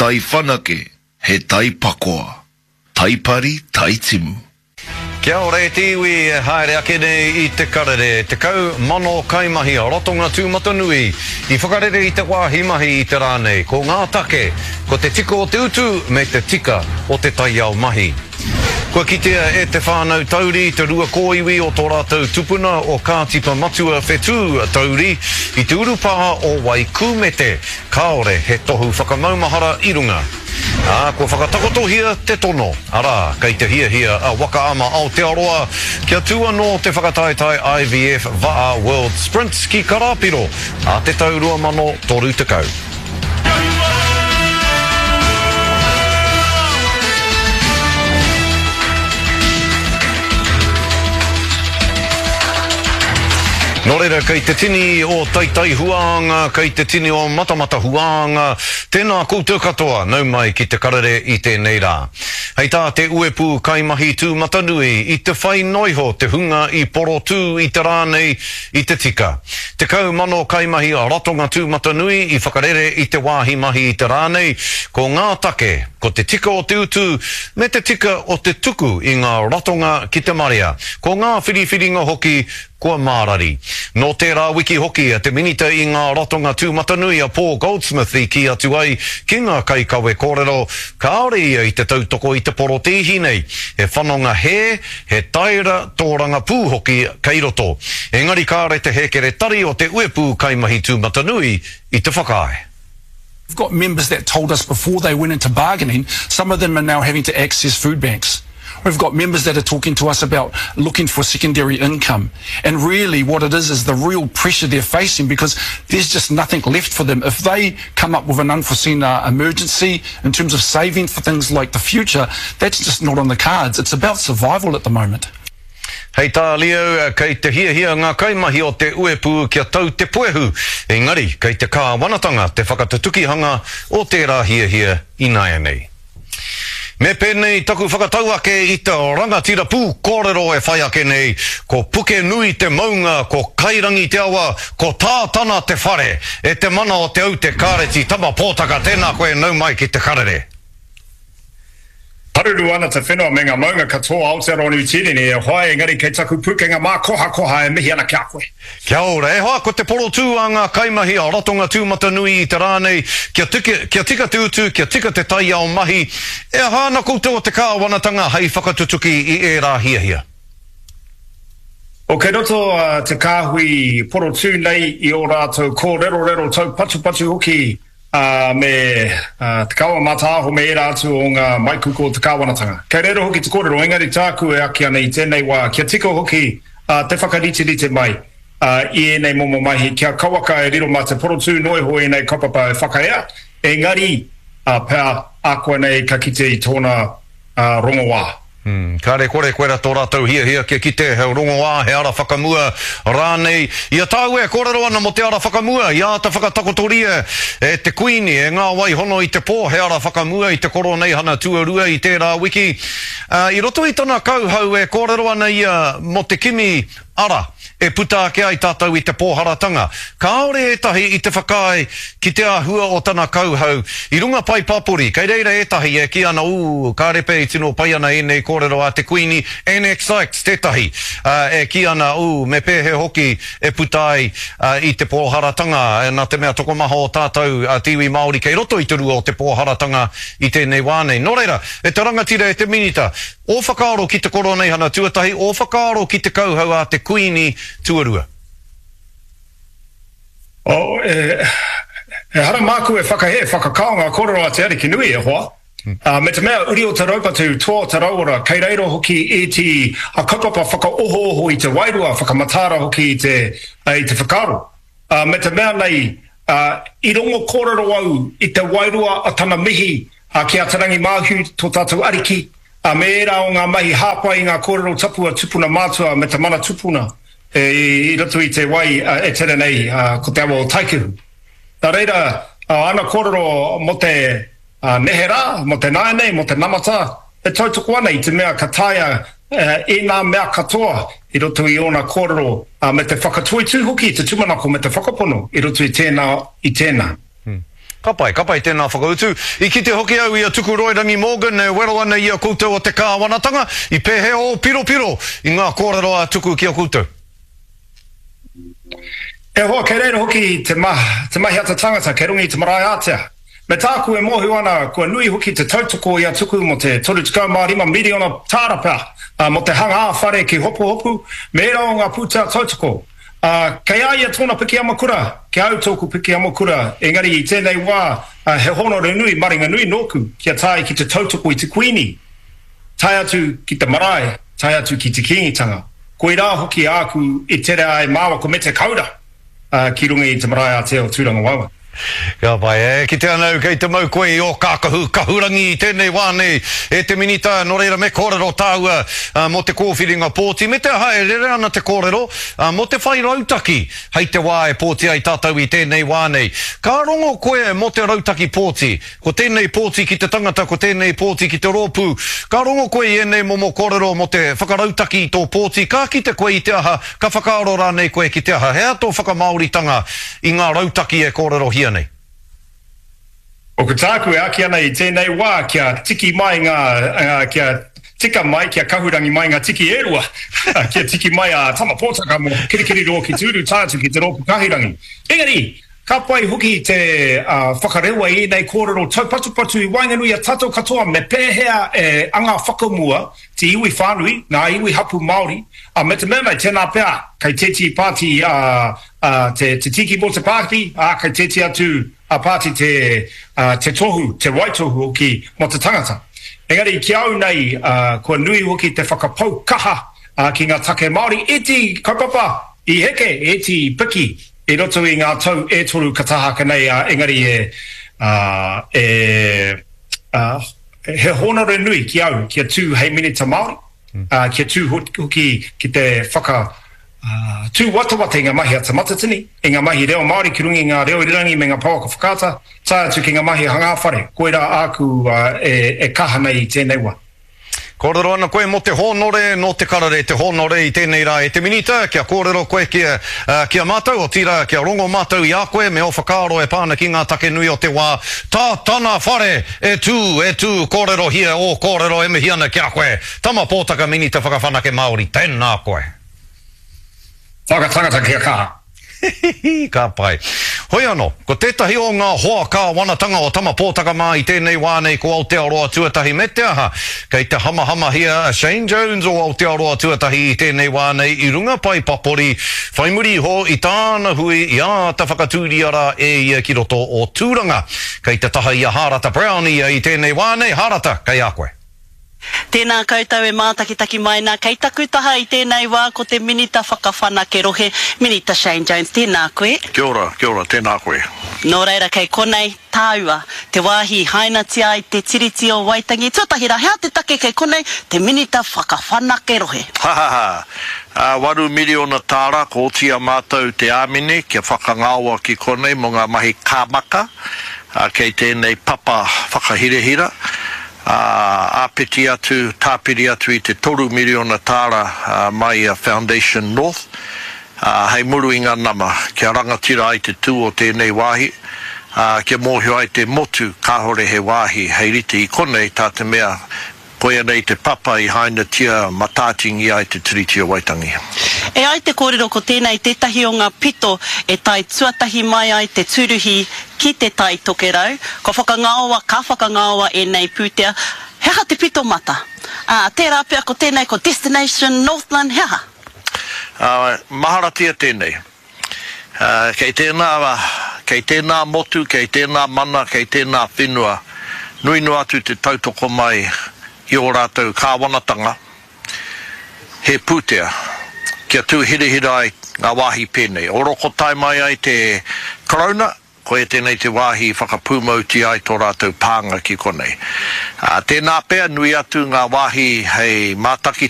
tai whanake, he tai pakoa. Tai pari, tai timu. Kia ora e te iwi e haere ake nei i te karere. 10,000 kaimahi a Ratonga Tūmatanui i whakarere i te wāhi mahi i te rā nei. Ko ngā take, ko te tika o te utu me te tika o te taiao mahi. Kua kitea e te whānau Tauri te rua kōiwi o tō rātou tupuna o Kātipa Matua Whetū Tauri i te urupā o Waikūmete. Kāore he tohu whakamaumahara i runga. Ā, kua whakatakotohia te tono, arā, kei te hiahia a Waka Ama Aotearoa kia tū anō te whakataetae IVF Va'a World Sprints ki Karāpiro ā te tau 2030. Nō reira, kei te tini o Taitai Huānga, kei te tini o Matamata Huānga, tēnā koutou katoa, nau mai ki te karere i tēnei rā. Hei tā te uepū kaimahi tūmatanui, i te whai noiho te hunga i porotū i te rā nei i te tika. 10,000 kaimahi ratonga tūmatanui i whakarere i te wāhi mahi i te rā nei, ko ngā take, ko te tika o te utu me te tika o te tuku i ngā ratonga ki te marea, ko ngā whiriwhiringa hoki kua mārari. Nō tērā wiki hoki a te Minita i ngā Ratonga Tūmatanui a Paul Goldsmith i kī atu ai ki ngā kaikawe kōrero kāore ia i te tautoko i te porotēhi nei, he whanonga hē, He taera tōrangapū hoki kei roto. Engari kāre te hēkeretari o te Uepū Kaimahi Tūmatanui i te whakaae. We've got members that told us before they went into bargaining, some of them are now having to access food banks. We've got members that are talking to us about looking for secondary income. And really what it is is the real pressure they're facing because there's just nothing left for them. If they come up with an unforeseen uh, emergency in terms of saving for things like the future, that's just not on the cards. It's about survival at the moment. Hei tā Leo, kei te hiahia ngā kaimahi o te uepū kia tau te puehu, engari kei te kāwanatanga te whakatutukihanga o tērā hiahia ināianei. Me pēnei taku whakatau ake i te rangatira pūkōrero e whai ake nei, ko Pukenui te maunga, ko Kairangi te awa, ko Tātana te whare, e te mana o Te Aute Kāreti Tama Pōtaka tēnā koe nau mai ki te karere. Haruru ana te whenua me nga maunga katoa Aotearoa Niu Tīreni e hoa engari kei taku pukenga mākohakoha e mihi ana ki a koe. Kia ora, e hoa, ko te porotū a ngā kaimahi a Ratonga Tūmatanui i te rā nei, kia tika, kia tika te utu, kia tika te taiao mahi, e aha ana koutou o te kāwanatanga hei whakatutuki i ērā hiahia? O kei roto te kāhui porotū nei i ō rātou kōrerorero taupatupatu hoki ā, me Te Kawa Mataaho me ērā atu o ngā maikuku o te kāwanatanga. Kei reira hoki te kōrero, engari tāku e aki ana i tēnei wā, kia tika hoki te whakariterite mai i ēnei momo mahi, kia kauaka e riro mā te porotū noa iho ēnei kaupapa e whakaea, engari pea ākuanei ka kite i tōna rongoā. Kāre kore koira tō rātou hiahia kia kite he rongoā, he ara whakamua rānei. I a tāua e kōrero ana mō te ara whakamua, i āta whakatakotoria e te Kuini, e ngā wai hono i te pō he ara whakamua i te Koroneihana tuarua i tērā wiki. I roto i tana kauhau e kōrero ana ia mō te kimi ara e puta ake ai tātou i te pōharatanga. Kāore ētahi i te whakaae ki te āhua o tana kauhau i runga pae papori. Kei reira ētahi e kī ana, ū, kāre pea i tino pai ana ēnei kōrero a te Kuini, NX Sykes tētahi, e kī ana, ū, me pēhea hoki e puta ai i te pōharatanga, nā te mea tokomaha o tātou, te iwi Māori kei roto i te rua o te pōharatanga i tēnei wā nei. Nō reira, e te rangatira, e te Minita, Ō whakaaro ki te Koroneihana tuatahi, ō whakaaro ki te kauhau a te Kuini tuarua. Oh, e, ehara māku e whakahē, whakakao ngā kōrero a Te Arikinui, e hoa. Uh, me te mea, uri o te raupatu, toa o te rauora, kei reira hoki ēti a kaupapa whakaohooho i te wairua, whakamataara hoki i te, i te whakaaro. Uh, me te mea nei, uh, i rongo kōrero au i te wairua a tana mihi uh, ki a Te Rangi Māhu, tō tātou ariki, Ā, me ērā o ngā mahi hāpai i ngā kōrero tapu a tupuna mātua me te mana tupuna i roto i te wai e tere nei ko te awa o Taikehu. Nā reira, āna kōrero mō te neherā, mō te nāianei, mō te namata, e tautoko ana i te mea ka taea ēnā mea katoa i roto i ōna kōrero me te whakatoitū hoki i te tūmanako me te whakapono i roto i tēnā, i tēnā. Ka pai, ka pai tēnā whakautu. I kite hoki au i a Tukuroirangi Morgan e wero ana i a koutou o te kāwanatanga, i pēhea ō piropiro i ngā kōrero a Tuku ki a koutou? E hoa, kei reira hoki te te mahi a te tangata kei runga i te marae ātea. Me tāku e mōhio ana kua nui hoki te tautoko i a Tuku mō te 35 miriona tāra pea mō te hanga ā-whare ki Hopuhopu me ērā o ngā pūtea tautoko. Ā, kei a ia tōna piki amokura, ki a au tōku piki amokura, engari i tēnei wā he hōnore nui, maringa nui nōku kia tae ki te tautoko i te Kuini, tae atu ki te marae, tae atu ki te Kīngitanga. Koirā hoki āku i tere ai māua ko Mete Kaura ki runga i te marae ātea o Tūrangawaewae. Ka pai. E kite ana au kei te mau koe i ō kākahu kahurangi i tēnei wā nei, e te Minita, nō reira me kōrero tāua mō te kōwhiringa pōti, me te aha e rere ana te kōrero mō te whai rautaki hei te wā e pōti ai tātou i tēnei wā nei. Ka rongo koe mō te rautaki pōti, Ko tēnei pōti ki te tangata, ko tēnei pōti ki te rōpū. Ka rongo koe i ēnei momo kōrero mō te whakarautaki i tō pōti, ka kite koe i te aha, ka whakaaro rānei koe ki te aha. He aha tō whakamāoritanga i ngā rautaki e kōrerohia nei? Ko tāku e āki ana i tēnei wā kia tiki mai ngā, kia tika mai, kia kahurangi mai ngā tiki e rua, kia tiki mai a Tama Pōtaka mō Kirikiriroa ki te uru tae atu ki te rōpū kahurangi. Engari, Ka pai hoki te whakarewa i ēnei kōrero taupatupatu i waenganui i a tātou katoa me pēhea e anga whakamua te iwi whānui, ngā iwi hapū Māori, ā, me te mea nei, tēnā pea, kei tētehi pāti te tiki mō te pāti, ā, kei tētehi atu pāti te, te tohu, te waitohu hoki mō te tangata. Engari ki a au nei, kua nui hoki te whakapau kaha ki ngā take Māori, iti kaupapa i heke, iti i piki, I roto i ngā tau e toru ka taha ake nei, ā, engari e, ā, e, ā, he hōnore nui ki au kia tū hei Minita Māori, ā, kia tū hoki ki te whaka, ā, tūwatawata i ngā mahi a Te Matatini, i ngā mahi reo Māori ki runga i ngā reo irirangi me ngā pouaka whakaata, tae atu ki ngā mahi hangā whare. Koirā āku, ā, e, e kaha nei i tēnei wā. Kōrero ana koe mō te hōnore, nō te karere te hōnore i tēnei rā e te Minita, kia kōrero koe ki a, ki a mātou, otirā, kia rongo mātou i a koe me ō whakaaro e pā ana ki ngā take nui o te wā. Tā tana whare e tū, e tū, kōrerohia ō kōrero e mihi ana ki a koe. Tama Pōtaka Minita Whakawhanake Māori, tēnā koe. Whakatangata kia kaha. Hihihi, ka pai. Hoi anō, ko tētahi o ngā hoa kāwanatanga o Tama Pōtaka mā i tēnei wā nei ko Aotearoa Tuatahi me te aha, kei te hamahamahia a Shane Jones o Aotearoa Tuatahi i tēnei wā nei i runga pae papori whai muri iho i tāna hui i āta whakatūria rā e ia ki roto o Tūranga. Kei te taha i a Hārata Brown ia i tēnei wā nei. Hārata, kei a koe. Tēnā koutou e mātakitaki mai nā. Kei taku taha i tēnei wā ko te Minita Whakawhanake Rohe, Minita Shane Jones. Tēnā koe. Kia ora, kia ora, tēnā koe. Nō reira kei konei tāua, te wāhi i hainatia ai te Tiriti o Waitangi. Tuatahi rā, he aha te take kei konei te Minita Whakawhanake Rohe? Ha ha ha! Ā, waru miriona tāra kua oti i a mātou te āmine kia whakangaoa ki konei mō ngā mahi kāmaka, ā, kei tēnei papa whakahirahira. Ā, āpiti atu, tāpiri atu i te toru miriona tāra mai i a Foundation North, ā, hei muru i ngā nama, kia rangatira ai te tū o tēnei wāhi, ā, kia mōhio ai te motu kāore he wāhi hei rite i konei, tā te mea, koia nei te papa i hainatia matātingia ai te Tiriti o Waitangi. E ai te kōrero ko tēnei tētahi o ngā pito e tae tuatahi mai ai te tūruhi ki Te Tai Tokerau, kua whakangaoa, ka whakangaoa ēnei pūtea, he aha te pito mata? Ā, tērā pea ko tēnei ko Destination Northland, he aha? Ā, maharatia tēnei. Ā, kei tēnā, kei tēnā motu, kei tēnā mana, kei tēnā whenua, nui noa atu te tautoko mai i ō rātou kāwanatanga, he pūtea kia tū hirahira ai ngā wāhi pēnei. Oroko tae mai ai te Karauna, koia tēnei te wāhi i whakapūmautia ai tō rātou pānga ki konei. Ā, tēnā pea, nui atu ngā wāhi hei mātaki.